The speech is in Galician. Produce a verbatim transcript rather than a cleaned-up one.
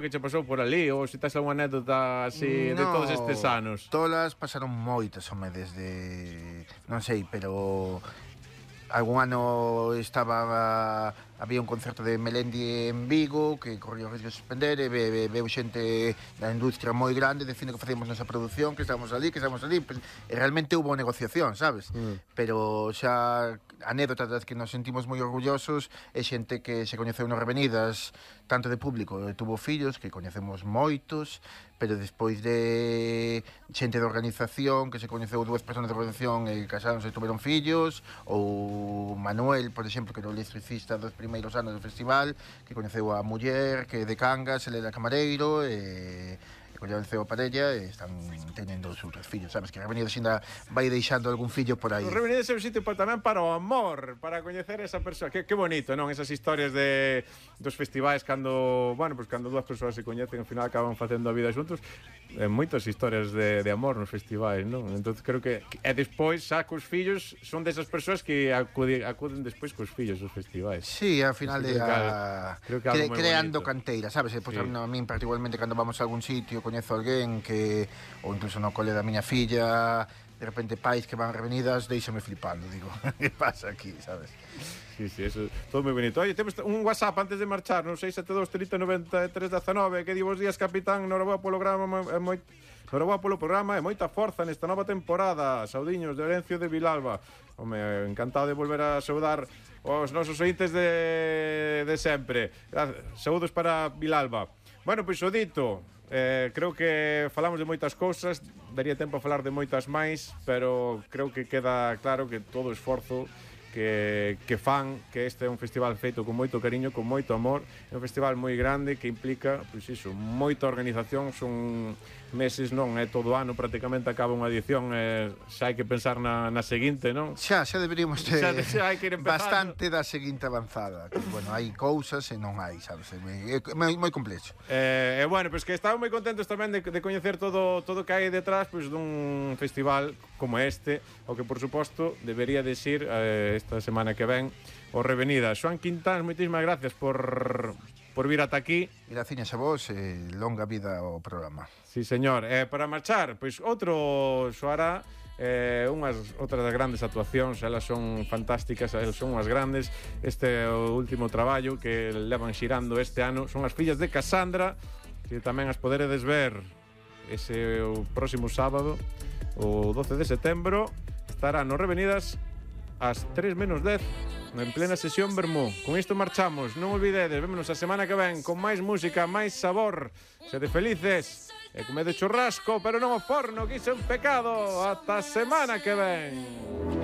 que che pasou por ali, ou se tes algunha anécdota así de todos estes anos? Todas pasaron moitas, home, desde... non sei, pero... algún ano estaba... había un concerto de Melendi en Vigo que corría o risco de suspender e ve, ve, veu xente da industria moi grande dicindo que facíamos nosa produción, que estábamos ali, que estábamos ali, pues, e realmente hubo negociación, sabes? Mm. Pero xa anécdotas das que nos sentimos moi orgullosos é xente que se coñeceu nas Revenidas, tanto de público, e tuvo fillos, que coñecemos moitos, pero despois de xente de organización, que se coñeceu dúas persoas de organización e casaron e tuveron fillos, ou Manuel, por exemplo, que era o electricista dos primeiros anos do festival, que coñeceu a muller, que de Cangas, ele era camareiro, e... coñeceu a parella e están tendo os outros fillos, sabes? Que a Revenidas ainda vai deixando algún fillo por aí. O Revenidas é un sitio para, tamén para o amor, para coñecer esa persoa. Que, que bonito, non? Esas historias de dos festivais cando, bueno, pues cando dúas persoas se coñecen, ao final acaban facendo a vida xuntos. Eh, moitas historias de, de amor nos festivais, non? Entón creo que e despois xa cos fillos son desas persoas que acuden, acuden despois cos fillos aos festivais. Sí, ao final de a... creo que cre, creando bonito. Canteira, sabes? E, pues, sí. A min particularmente cando vamos a algún sitio coñezo alguén que, ou incluso no cole da miña filla, de repente pais que van Revenidas, deixame flipando, digo, que pasa aquí, sabes? Sí, sí, eso, todo moi bonito. Oye, temos un WhatsApp antes de marchar, no seis sete dos, trinta, noventa e tres, dezanove, que di bos días, capitán, noraboa polo programa, é moi... noraboa polo programa e moita forza nesta nova temporada. Saudiños de Orencio de Vilalba. Home, encantado de volver a saudar os nosos ointes de, de sempre. Saúdos para Vilalba. Bueno, pois o dito, eh, creo que falamos de moitas cousas, daría tempo a falar de moitas máis, pero creo que queda claro que todo o esforzo que, que fan, que este é un festival feito con moito cariño, con moito amor, é un festival moi grande que implica, pois iso, moita organización, son meses, non é todo ano, prácticamente acaba unha edición, e xa hai que pensar na, na seguinte, non? Xa, xa deberíamos ter xa, xa hai que ir bastante da seguinte avanzada, que, bueno, hai cousas e non hai, sabes, é moi, moi complexo. E, eh, bueno, pois que estamos moi contentos tamén de, de coñecer todo todo que hai detrás, pois dun festival como este, o que, por suposto, debería de ir eh, esta semana que ven o Revenidas. Xoan Quintán, moitísimas gracias por, por vir ata aquí. Graciñas a vos e longa vida ao programa. Sí, señor. Eh, para marchar, pois outro soará eh, unhas outras das grandes actuacións, elas son fantásticas, elas son unhas grandes. Este é o último traballo que levan xirando este ano, son as fillas de Casandra, que tamén as poderedes ver ese o próximo sábado, o doce de setembro, estará no Revenidas ás tres menos dez, en plena sesión Vermú. Con isto marchamos, non olvidedes, vémonos a semana que ven con máis música, máis sabor. Sede felices e comedo churrasco, pero non o forno, que iso é un pecado. Ata a semana que ven.